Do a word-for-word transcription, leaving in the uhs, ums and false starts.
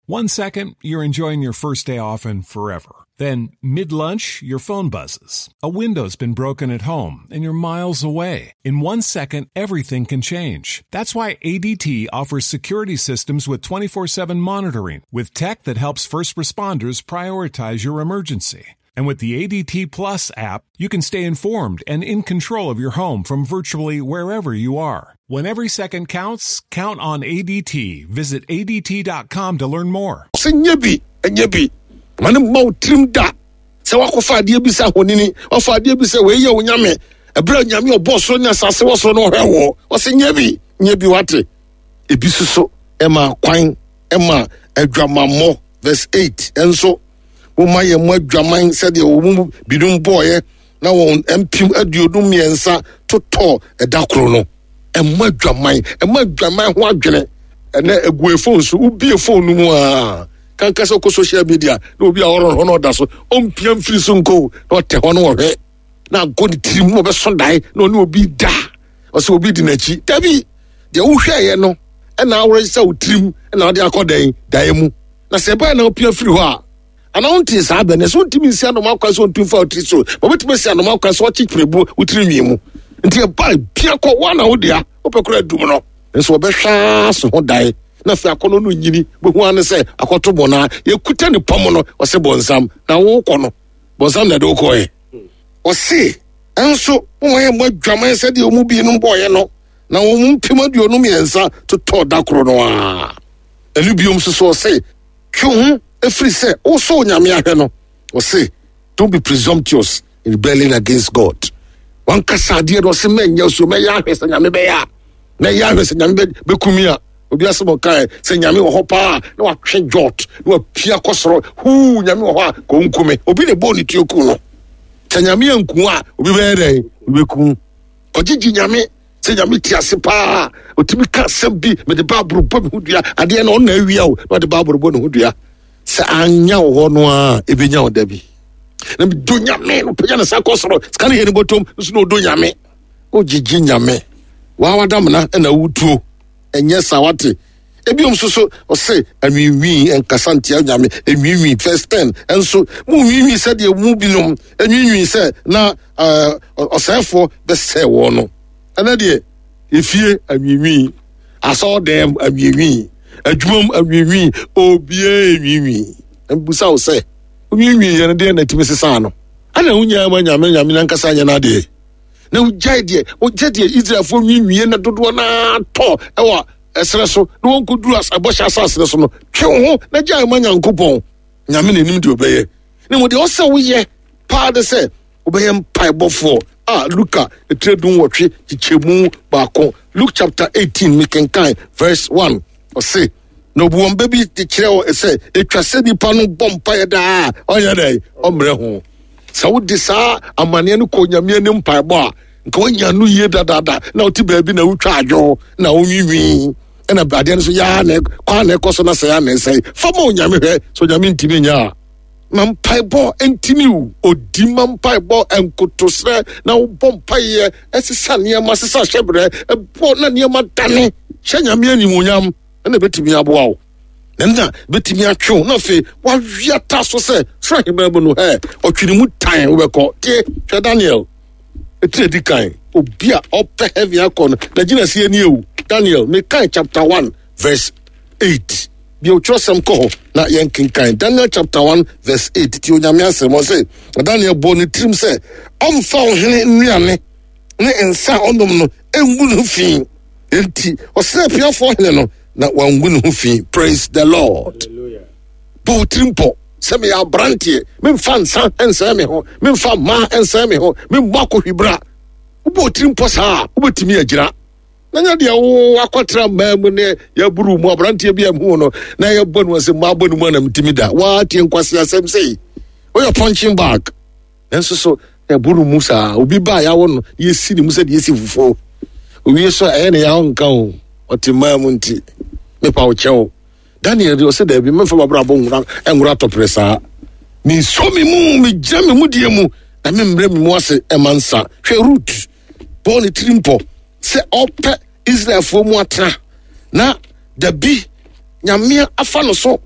One second, you're enjoying your first day off and forever. Then, mid lunch, your phone buzzes. A window's been broken at home and you're miles away. In one second, everything can change. That's why A D T offers security systems with twenty-four seven monitoring, with tech that helps first responders prioritize your emergency. And with the A D T Plus app, you can stay informed and in control of your home from virtually wherever you are. When every second counts, count on A D T. Visit A D T dot com to learn more. Sɛ nyɛ bi, ɛnyɛ bi ma ne mma wo tirim da sɛ wakɔfa adeɛ bi sɛ ahonini, wafa adeɛ bi sɛ wei yɛ wo nyame, ɛberɛ a Nyame ɔbɔ soro ne asase wɔ soro no ɔhwɛ wɔ. Ɔsɛ nyɛ bi, nyɛ bi, wate. Ebi soso ɛma kwan ɛma adwamammɔ. Verse eight, ɛnso momma yɛn mo adwaman sɛdeɛ wɔn mu binom bɔɔyɛ na wɔn mpem aduonum mmiɛnsa totɔ ɛda koro no. Ɛmma adwaman, ɛmma adwaman ho adwene. Ɛnɛ egu phone so, wobie phone no mu a, kanka sɛ wokɔ social media na obi a ɔrɔ hɔ na ɔda so, ɔmpia mfiri so nko na ɔtɛ hɔ no, wɔhwɛ na agɔ ne tirim na ɔbɛso dae na ɔne obi da, ɔsɛ obi di n'akyi. Dabi, deɛ wohwɛeɛ no ɛna aworɔ sɛ wo tirim ɛna wode akɔ dɛn daeɛ mu, na sɛ ɛbɛyɛ na wopia firi hɔ a, anaa wonte saa bɛ ne sɛ wontumi nsi anoma kwan sɛ ɔntum fa wo tiri so ma wobɛtumi asi anoma kwan sɛ ɔkye pirebu wo tiri nwi mu. Nti ɛba pia kɔ woa na wodea wopɛ kora adum no nso wɔbɛhwɛ so ho dae na afei akɔnɔ no nyini bɛhu ane sɛ akɔto bɔnaa yɛkuta ne pɔm no. Ɔsɛ bɔnsam na wokɔ no, bɔnsam na ɛde wokɔɛ. Ɔse ɛnso moma yɛ mmɔ adwaman sɛdeɛ ɔmu binom bɔɔyɛ no na wɔn mu mpem aduonu mmiɛnsa totɔɔ da koro no a. Ɛno biom nso so, ɔse twe ho ɛfiri sɛ wosɔ Onyame ahwɛ no. Ɔse don't be presumptuous in rebelling against God. Wankasa adeɛ no, ɔse mɛnyɛ so, mɛyɛ ahwɛ sɛ Nyame bɛyɛ a, mɛyɛ ahwɛ sɛ Nyame bɛkumi a. Obi asɛm ɔkae sɛ Nyame wɔ hɔ paa na watwe jot na wapia kɔ soro huu. Nyame wɔ hɔ a, kɔnkume obi na ɛbɔɔ ne tuo ku no. Sɛ Nyame anku a, obi bɛyɛ dɛn? Obi bɛku kɔgyegye Nyame sɛ Nyame te ase paa. Ɔtumi ka asɛm bi, mede Bible bɔ me ho dua. Adeɛ no ɔna awia o, na ɔde Bible bɔ ne ho dua sɛ anya wo hɔ no a, ɛbɛnya wo da bi. Na medɔ Nyame no, pagya ne sa kɔ soro, sika no yɛ ne bɔtɔm nso na ɔdɔ Nyame. Wogyegye Nyame waa wadamena ɛna wotuo, ɛnyɛ sa, wate. Ebiom nso so, ɔse anwiinwii, nkasa ntia Nyame enwiinwii. Verse ten, ɛnso mu nwiinwii sɛdeɛ mu binom enwiinwii sɛ na ɛɛ ɔsɛefoɔ bɛsɛe wɔn no. Ɛnɛ deɛ, efie anwiinwii, asɔɔdɛm anwiinwii, adwumam anwiinwii, obiara enwiinwii. Mbusa wo sɛ nwiinwii yɛn deɛ na etimi sesa no ɛna wonyaa ma Nyame, Nyame nankasa nyɛ n'adeɛ na wogyae deɛ wogye deɛ Israelfoɔ nwiinwie na dodoɔ naa tɔ ɛwɔ ɛserɛ so na wɔnkɔduru ɛbɔhyɛ asase no so no. Twe wo ho na gyae ma Nyankopɔn. Nyame n'anim deɛ ɔbɛyɛ ne mo deɛ ɔsɛ woyɛ paa de sɛ wobɛyɛ mpaebɔfoɔ a. Luka etire du nwɔtwe kyekyɛmu baako, Luke chapter eighteen, mekenkan verse one. Ɔse na obu wɔn bɛ bi de kyerɛ wɔ sɛ etwa sɛ nipa no bɔ mpaeɛ daa, ɔnyɛ dɛ ɔmmerɛ ho. Sɛ wode saa amanneɛ no kɔ Nyame anim mpaebɔ a, nka woanya no yie dadaada. Na wote baabi na wotwa adwo na wonwiinwii ɛna adeɛ no so yaa na kwan na ɛkɔ so na sɛ yaa na ɛsɛe, fa ma Onyame. Hwɛ sɛ Onyame ntimi nyɛ a, ma mpaebɔ ntimi wo odi, ma mpaebɔ nkotosrɛ na wobɔ mpaeɛ ɛsesa nneɛma, sesa hyɛberɛ ɛbɔ na nneɛma dane hyɛ Nyame animuonyam. Ɛna ɛbɛtumi aboa wo na na bɛtumi atwe wo na afei wawia ta so sɛ soro ahemman mu no ɛ ɔtwe ne mu tan wobɛkɔ. Tie, hwɛ Daniel ɛtiri adi kan, obi a ɔpɛ heaven akɔ no na gyina seɛ nie o. Daniel, mekan chapter one verse eight bi, otwerɛsɛm kɔ hɔ na yɛnkenkan Daniel chapter one verse eight. Ti Onyame asɛm, ɔse Daniel bɔ ne tirim sɛ ɔmfa ɔhene nnuane ne nsa a ɔnom no ɛngu ne ho fi, enti ɔsrɛ apiafoɔ hene no na wangu ne ho fi. Praise the Lord. Bɔ wo tirim pɔ sɛ meyɛ aberanteɛ, memfa nsa nsɛe me ho, memfa mmaa nsɛe me ho, memmɔ akɔhwibra. Wobɔ wo tirim pɔ saa a, wobɛtumi agyina na nyɛ deɛ wo akɔtena mmaa mu ne yɛburu mu. Aberanteɛ bi a mu no na yɛbɔ no sɛ mmaa bɔ no mu anam ntimi da waatie nkwase asɛm sei, woyɛ punching bag. Nanso so yɛboro mu saa, obi ba a yɛawo no yɛsi ne mu sɛ deɛ yɛsi fufuo owie so a, ɛyɛ ne yɛawo nka o, ɔte mmaa mu. Nti mepa wo kyɛw, Daniel deɛ ɔsɛ daabi, memfa mabrabɔ nwura nwura tɔpere saa. Mesɔ me mu, megyina me mu deɛ mu na memmerɛ me mu ase ɛma nsa. Hwɛ Rut, bɔɔ ne tiri mpɔ sɛ ɔpɛ Israelfoɔ mu atena na dabi Nyame afa no so.